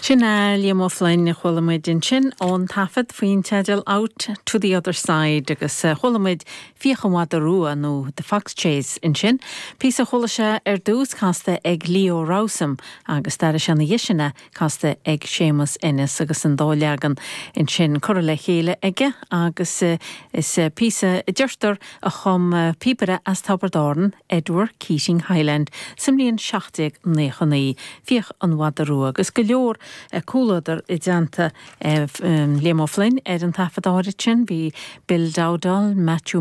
Sin é Liam Ó Floinn a chuala muid ansin ón taifead faoin teideal Out to the Other Side agus chuala muid Fiach an Mhada Rua nó The Fox Chase ansin, píosa a chuala sé ar dtús casta ag Leo Rowsome agus d'airigh sé ina dhiaidh sin é casta ag Séamus Ennis agus an dá leagan ansin curtha le chéile aige agus is píosa a deirtear a chum píobaire as Tiobraid Árann, Edward Keating Hyland sa mbliain 1799, Fiach an Mhada Rua, agus go leor comhluadar i dteannta Liam Ó Floinn ar an taifead áirid sin, bhí Bill Dowdall, Matthew.